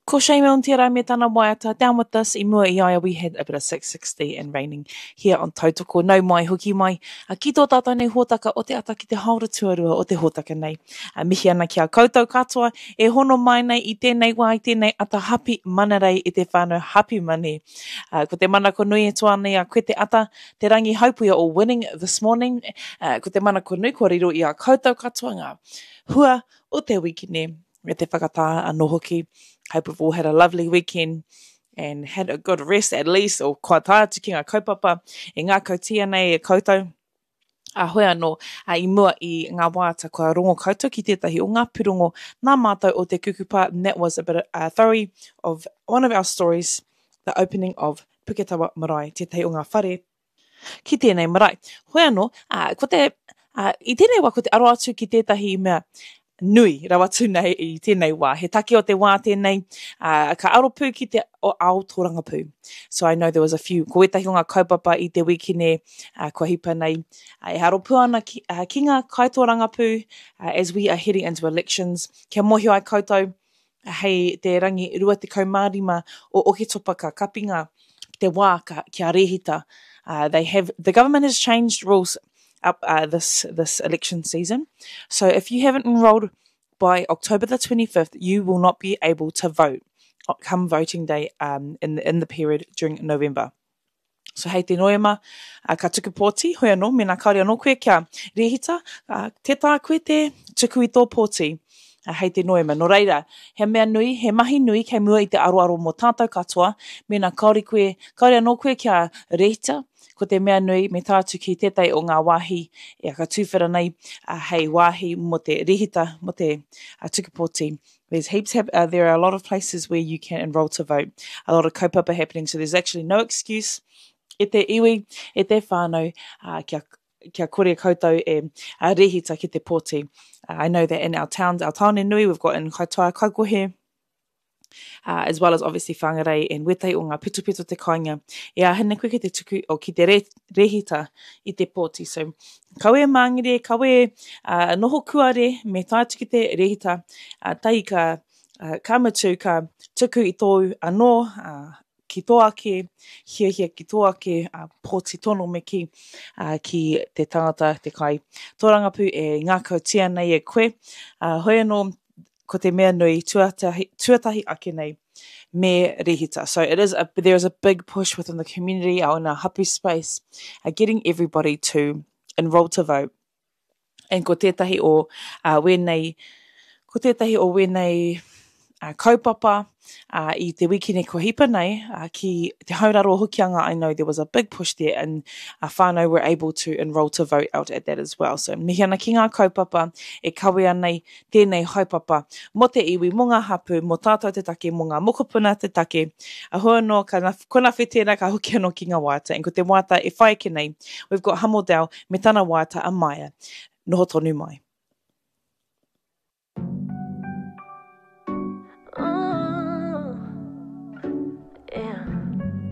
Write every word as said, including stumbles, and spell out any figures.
Ko Shane Milne tērā me tana waiata Down With This i mua i a ia we had a bit of six sixty and raining here on Tautoko. Nau mai, hoki mai ki tō tātou nei hōtaka o te ata ki te haora tuarua o te hōtaka nei. A mihi ana ki a koutou katoa e hono mai nei i tēnei wā, i tēnei ata hapi manarei i te whānau hapi money. Uh, ko te manako nui e toa nei a koe te ata, te rangi haupuia o winning this morning. Uh, ko te manako nui kua riro i a koutou katoa ngā hua o te wikine me te whakatā anō hoki. Hope we've all had a lovely weekend and had a good rest at least, or kua tae atu ki ngā kaupapa e ngākautia nei e koutou. A hoi anō, a, i mua i ngā waiata kua rongo koutou ki tētahi o ngā pūrongo nā mātou o te Kukupa, and that was a bit of, uh, thorough of one of our stories, the opening of Puketawa Marae, tētahi o ngā whare ki tēnei marae. Hoi anō, uh, ko te, uh, i tēnei wā ko te aro atu ki tētahi mea nui rawa atu nei i tēnei wā. He take o te wā tēnei, uh, ka aro pū ki te ao tōrangapū. So I know there was a few, ko wētahi o ngā kaupapa i te wikine uh, kua hipa nei, uh, e aro pū ana ki, uh, ki ngā kaitōrangapū uh, as we are heading into elections. Kia mōhio ai koutou, hei te rangi rua tekau mā rima o Oketopa ka kapinga te wā ka, kia rehita. Uh, they have, the government has changed rules up uh, this, this election season. So if you haven't enrolled by October the twenty-fifth, you will not be able to vote come voting day, um, in, the, in the period during November. So hei te Noema, uh, ka tuku pōti, hoi anō, mēnā kāore anō koe kia rehita, uh, tē taea koe te tuku i tō pōti, uh, hei te Noema. Nō reira, he mea nui, he mahi nui kei mua i te aroaro mō tātou katoa, mēnā kāore koe, kāore anō koe kia rehita, ko te mea nui me tae atu ki tētahi o ngā wāhi e ka tūwhera nei, uh, hei wāhi mō te rehita, mō te, uh, tuku pōti. There's heaps, hap-, uh, there are a lot of places where you can enroll to vote. A lot of kaupapa happening, so there's actually no excuse e te iwi, e te whānau, uh, kia, kia kore koutou e, uh, rehita ki te pōti. Uh, I know that in our towns, our tāone nui, we've got in Kaitaia, Kaikohe, uh, as well as obviously Whangarei and wētahi o ngā pitopito te kāinga. E āhina koe ki te tuku, o ki te re-, rehita i te pōti. So, kawe māngere, kawe, uh, noho kuare, me tae atu ki te rehita, uh, tai ka, uh, ka mutu, ka tuku i tōu anō, uh, ki tō ake, hiahia ki tō ake, uh, pōti tono me ki, uh, ki te tangata, te kai tōrangapū e ngākautia nei e koe. Uh, hoi anō, ko te mea nui tuatahi, tuatahi ake nei me rehita. So it is a, there is a big push within the community, in our hapu space, uh, getting everybody to enroll to vote. And ko tētahi o, uh, wēnei, ko tētahi o wēnei, uh, kaupapa, uh, i te wikine kua hipa nei, uh, ki te hauraro hokianga, I know there was a big push there and uh, whānau were able to enroll to vote out at that as well. So mihi ana ki ngā kaupapa e kawea nei tēnei haupapa mō te iwi, mō ngā hapu, mō tātou te take, mō ngā mokopuna te take. A hua anō, ka na, kona whetēna ka hoki anō ki ngā waiata. And ko te waiata e whai ake nei, we've got Hamo Dell me tana waiata a Maia. Noho tonu mai.